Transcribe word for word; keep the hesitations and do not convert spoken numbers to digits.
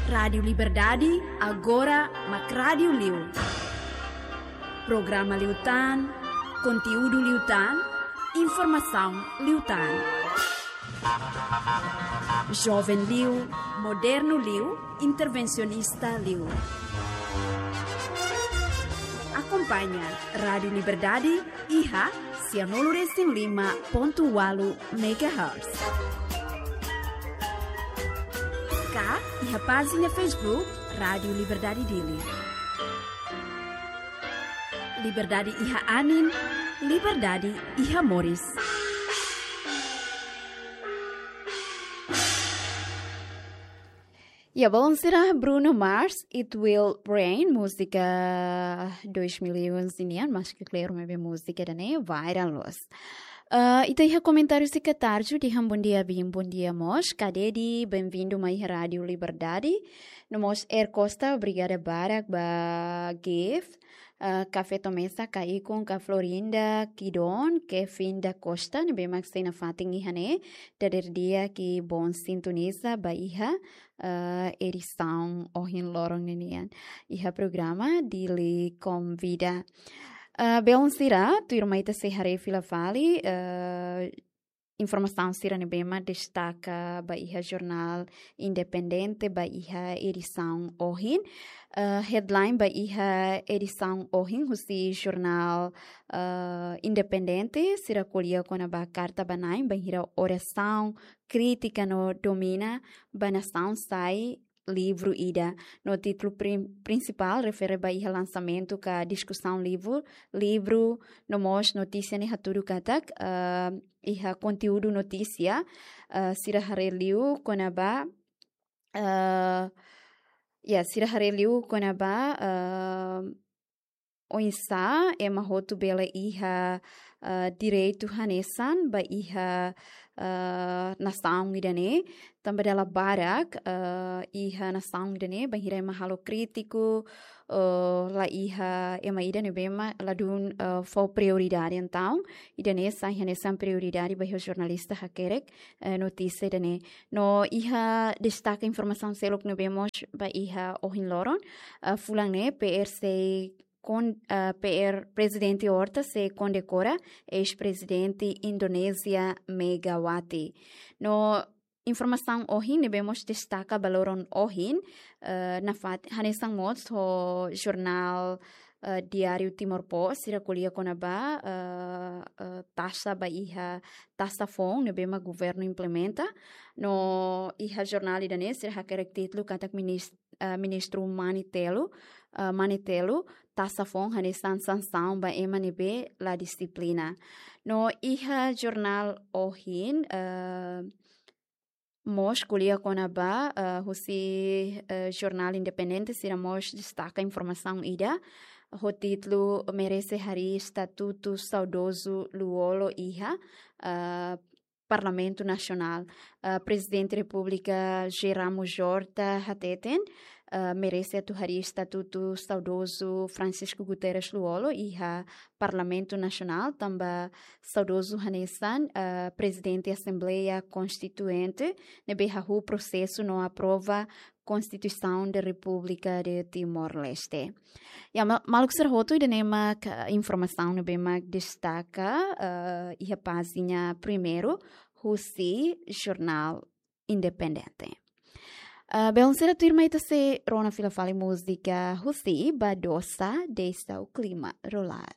Rádiu Liberdade, agora mak rádiu liu. Programa liután, konteúdu liután, informasaun liután. Joven liu, modernu liu, intervensionista liu. Akompaña Rádiu Liberdade iha sianulu resin lima pontu ualu megahertz. Ka iha pájina Facebook Rádiu Liberdade Dili. Liberdade iha anin, liberdade iha moris. Ya, belun sira, Bruno Mars, It Will Rain, múzika dois mil e onze nian, maski klaru maibé múzika ida-ne'e viral loos. Ah, ita iha komentáriu sira katarju, dehan bondia bin, bondia mós, Kadedi, benvindu mai Rádiu Liberdade. No mós Er Costa, obrigada barak ba gift. Ah, Café Tomesa, Kaikun, ka Florinda, Kidon, Kevin da Costa, ne'ebé mak sei nafatin iha ne'e, dadeer di'ak, ki bon sintoniza ba iha, ah, edisaun ohin loron ninian iha programa Dili Konvida. Ah, belun sira, tuirmai ita sei haree fila fali, ah, informasaun sira ne'ebé mak destaka ba iha jornál Independente ba iha edisaun ohin. Ah, headline ba iha edisaun ohin husi jornál, ah, Independente, sira ko'alia kona-ba karta ba na'in bainhira orasaun, krítika no domina ba nasaun sai livru ida. No títulu prin-, prinsipál refere ba iha lansamentu ka diskusaun livru, livru, no mós notísia ne'e hatudu katak, ah, iha konteúdu notísia, ah, sira haree liu kona-ba, ah, ya, sira haree liu kona-ba, ah, oinsá ema hotu bele iha, ah, direitu hanesan ba iha, ah, nasaun ida-ne'e, tanba dala barak, ah, iha nasaun ida-ne'e, bainhira ema halo krítiku, ah, la iha ema ida ne'ebé mak ladún, ah, fó prioridade. Entaun, ida-ne'e sai hanesan prioridade ba iha jornalista hakerek, eh, notísia ida-ne'e. No iha destaka informasaun seluk ne'ebé mós ba iha ohin loron, ah, fulan ne'e P R C kon-, ah, P R Prezidente Horta sei kondekora eis-prezidente Indonézia Megawati. No informasaun ohin ne'ebé mós destaka ba loron ohin, eh, nafatin hanesan mós ho jornál, eh, Diário Timor Post, sira ko'alia kona-ba, eh, eh, taxa ba iha taxa foun ne'ebé mak governu implementa. No iha jornál ida-ne'e sira hakerek títulu katak minis-, eh, ministru Mani Telu, eh, Mani Telu, taxa foun hanesan sansaun ba ema ne'ebé la dixiplina. No iha jornál ohin, eh, mós ko'alia kona-ba, eh, husi, eh, jornál Independente sira mós destaka informasaun ida ho títulu Merese Harii Estatutu Saudozu Lú-Olo iha, eh, Parlamentu Nasionál. Eh, Prezidente Repúblika José Ramos Horta hateten, eh, merese atu harii estatutu saudozu Francisco Guterres Lú-Olo iha Parlamentu Nasionál, tanba saudozu hanesan, eh, Prezidente Asembleia Konstituinte, ne'ebé hahú prosesu no aprova Konstituisaun da Repúblika de Timor-Leste. Ya, ma-, maluk sira hotu, ida-ne'e mak, eh, informasaun ne'ebé mak destaka, eh, iha pájina primeiru husi jornál Independente. Eh, belun sira, tuirmai ita sei rona fila fali múzika husi Badosa, Deixa o Clima Rolar.